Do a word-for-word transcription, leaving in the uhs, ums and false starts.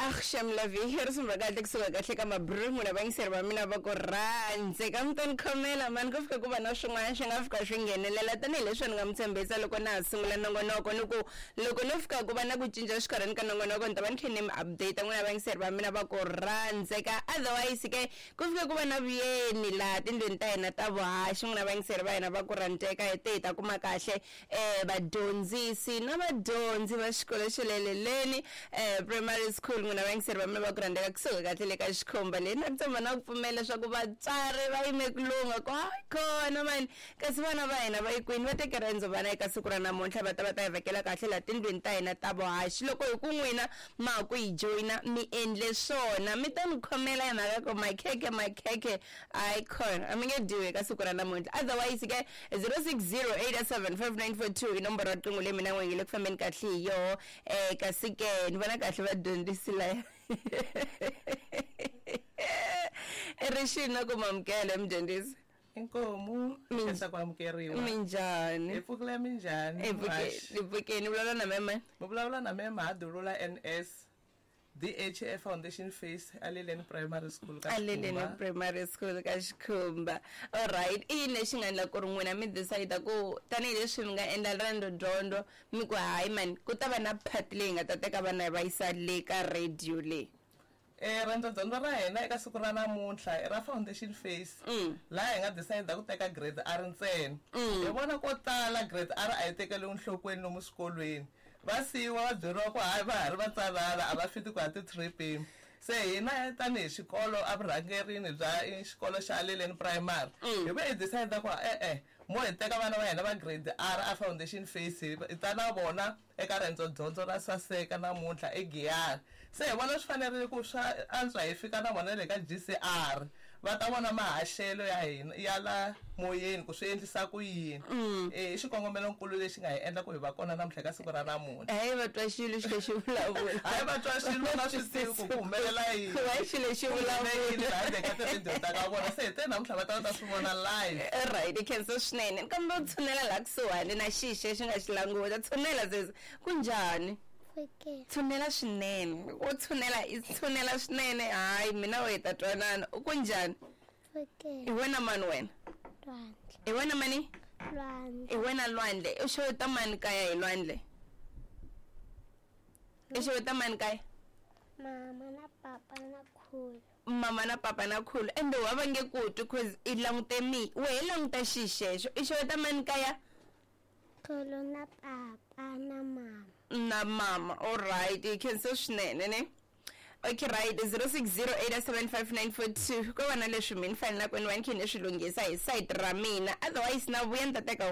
Axam lavi risimu ra kahle kusuka kahle ka mabru n'wina vayingiseri va mina va ku rhandze ka mi ta ni khomela mani ku fika ku va na swin'wana swi nga fika swi nghenelela tanihileswi ni nga mi tshembisa loko na ha sungula nongonoko ni ku loko no fika ku va na ku cinca xikarhini ka nongonoko ni ta va ni khe ni mi update n'wina vayingiseri va mina va ku rhandzeka. Otherwise ke ku fika ku va na vuyeni laha tindlwini ta hina ta vuhaxi n'wina vayingiseri va hina va ku rhandzeka hi te hi ta kuma kahle um vadyondzisi na vadyondzi va xikolo xa le Leleni um primary school n'wina vayingiseri va mina va ku rhandzeka kusuka kahle le ka xikhumba leyi na ku tshemba na ku pfumela leswaku vatswari va yime ku lungha ku hayi khona mani kasi vana va hina va yi kwini va teke riendzo vana eka siku ra namuntlha va ta va ta hi vekela kahle laha tindlwini ta hina ta vuhaxi. Loko hi ku n'wina ma ha ku hi joyina mi endle swona mi ta ni khomela hi mhaka ku makhekhe makhekhe hayi khona a mi nge dyiwi eka siku ra namuntlha. Otherwise ke zero six zero eight seven five nine four two i nomboro ya riqingho leyi mina n'we nge le ku fambeni kahle hi yoho um kasi ke ni vona kahle vadyondzisi laya rixini na ku mamukela mudyondzisi. Inkomu khensa ku amukeriwa. Minjhani? Hi pfukile minjhani? Hi pfukeni. Vulavula na mema? Mi vulavula na mema Hadulula N S D H A Foundation Phase Aleleni Primary School ka Aleleni Primary School ka Xikhumba. All right, i yini lexi nga endla ku ri n'wina mi decide ku tanihileswi mi nga endla riendzo dyondzo mi ku hayi mani ku ta va na part leyi nga ta teka vana va yisa le ka radio leyi? Eh riendzo dyondzo ra hina eka siku ra namuntlha i ra Foundation Phase laha hi nga decide ku teka grade R ntsena. Hi vona ko tala grade R a yi tekeriwi enhlokweni lomu swikolweni. Va siyiwa va byeriwa ku hayi va ha ri vatsanana a va fiti ku ya ti-tripini. Se hina tanihi xikolo evurhangerini bya xikolo xa Aleleni Primary hi ve hi decide ku e-e mo hi teka vana va hina va grade R a Foundation Phase hi ta na vona eka riendzo dyondzo ra Saseka namuntlha eGiyani. Se hi vona swi fanerile ku swa antswa hi fika na vona le ka G C R va ta vona mahaxelo ya hina ya la moyeni ku swi endlisa ku yini. I xikongomelonkulu lexi nga hi endla ku hi va kona namuntlha ka siku ra namuntlha. Hayi va twa xilo xi lexi vulavula. Hayi va twa xilo va swi tivi ku ku humelela yini. Va xilo lexi vulavula. Handle ka ti-radio ta ka vona se hi te namuntlha va ta va ta swi vona live. Right, i khensa swinene. Kambe u tshunela laha kusuhani na xixe xi nga xi languta. Tshunela sesi. Kunjhani? Tshunela swinene. U tshunela i tshunela swinene. Hayi mina we ta twanana. U kunjhani? I wena mani wena? I wena mani? I wena Lwandle. U xeweta mani kaya hi Lwandle? I xeweta mani kaya? Mama na papa na khulu. Mama na papa na khulu. Ende wa va nge ku twi cause i langute mi. Wehe languta xixexo. I xeweta mani kaya? Khulu na papa na mama. Na mama. All right. I khensa swinene ne? Okay, right. zero six zero eight seven five nine four two. Ko vana leswi mi ni fanelaka ni va ni khe ni swi lunghisa hi site ra mina. Otherwise na vuya ni ta teka